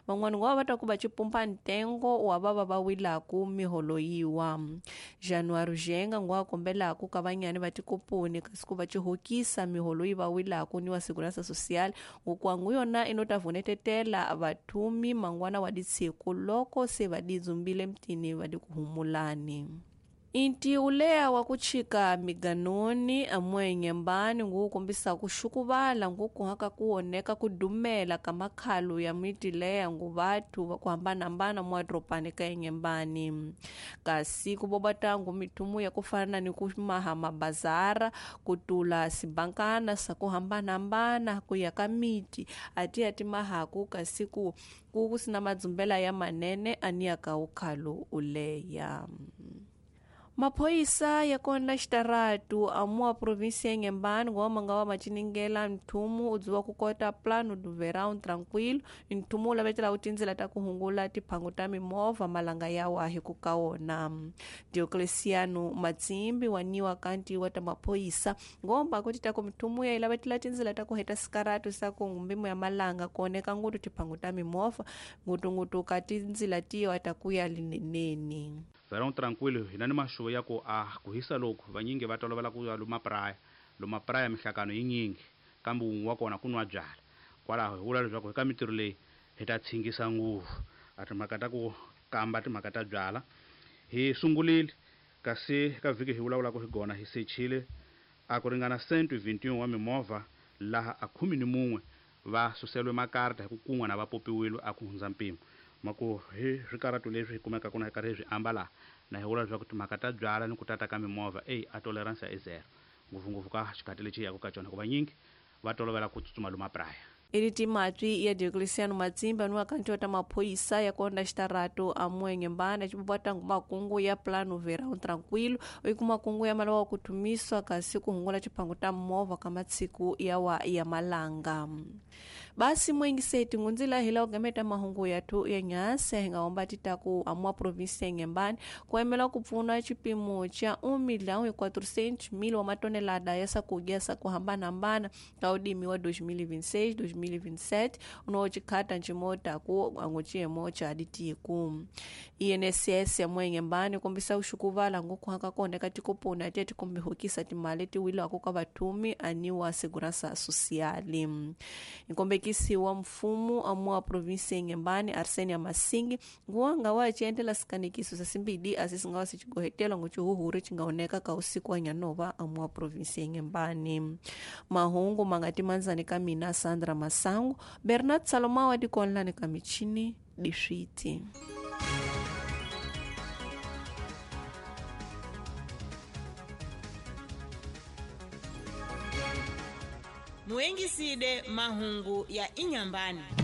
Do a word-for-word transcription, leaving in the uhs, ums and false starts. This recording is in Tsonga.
Van'wana ngo va ta ku va cipumpa ntengo wa va va va wilaku miholo yiwa. January Jenga ngo a kombelaku ka vanyani va tikoponi kasi ku va cihokisa miholo yi va wilaku ni wa Segurança Social ngokwangu yona inota vunetetela vathumi mangwana wa ditshiku loko se va didzumbile mtini va dikuhumulani. Inti ulea wa kuchika miganoni amwe nyembani ngu kumbisa kushukuvala ngu kuhaka kuoneka kudumela kama khalu ya miti lea ngu vatu kuhambana mbana mwa dropani ka nyembani. Kasi kubobatangu mitumu ya kufana ni kumaha mabazara kutula sibankana sa kuhambana mbana kuyaka miti ati ati mahaku kasi ku kusina madzumbela ya manene ania kaukhalu uleya. Maphoyisa ya kona xitaratu amua provinsia ya Inhambane ngoma nga wa machiningela nthumu udziwa ku kota plano do verão tranquilo nthumu u lavetela u tindzela ta ku hungula tiphangu ta mimovha malanga ya wahi ku ka wona. Diocleciano Matsimbi waniwa kanti wa ta maphoyisa ngomba kuti ta ku mthumu ya lavetela tindzela ta ku heta sikaratu sa ku mbimo ya malanga kuoneka ngutu tiphangu ta mimovha ngutungutu ka tindzela tiwa ta ku ya lineneni. Verão tranquilo hina ni maxuvo ya ku a ku hisa loku vanyingi va tolovela ku ya luma praia luma praia mihlakano yinyingi kambe wun'we wa kona ku nwa byala kwalaho hi vula leswaku eka mitirho leyi hi ta tshingisa nguvu a timhaka ta ku kamba timhaka ta byala hi sungurile kasi ka vhiki hi vulavulaka hi gona hi sechile a ku ringana cento vintiun wa mimovha laha a khume ni mun'we va suselwe makarta hi ku kun'wa na va popiwile a ku hundza mpimo mako hi swikaratu leswi hi kumekaka na hi karhi hi swi ambala na hi vula leswaku timhaka ta byala ni ku tata ka mimovha eyi a tolerance i zero ngopfungopfu ka xikhathi lexi yaka ka cona hikuva nyingi va tolovela ku tsutsuma luma praya. Iliti matwi ya Diocleciano Matsimba ni wakanti wa ta maphoyisa ya konda xitaratu amwe Inhambane xibobatangu makungu ya plano verão tranquilo iku makungu ya malawa kutumiswa kasi kuhungula chiphangu ta movha ka matsiku ya wa ya malanga. Basi mwengiseti ngunzila hila ugameta mahungu yathu ya nyase hingaomba titaku amwa provinsia ya Inhambane kuemela kupfuna chipimo cha um milhão e quatrocentos mil wa matonelada ya sakudya sa kuhambana-hambana ka udimi wa dois mil e vinte e seis, dois mil e vinte e sete unochikhata ncimota ku anguciyemo cha ditiku. I N S S ya mwe Inhambane kombisa uxukuvala ngokuhaka kona ka tikoponi ati atikombe timali tiwilako ka vathumi aniwa Segurança Social. Nkombekisi wa mfumo amwa provinsia ya Inhambane Arsenia Masingi nguwanga wa ciendela sikanikiso sa simbidi asisingawa sichigohetela nguchihuhuri chingaoneka ka usiku wa nyanova amwa provinsia ya Inhambane. Mahungu mangati manzani ka mina Sandra Masangu Bernard Salomao adikonlani ka michini dishiti. Muengiside mahungu ya Inhambane.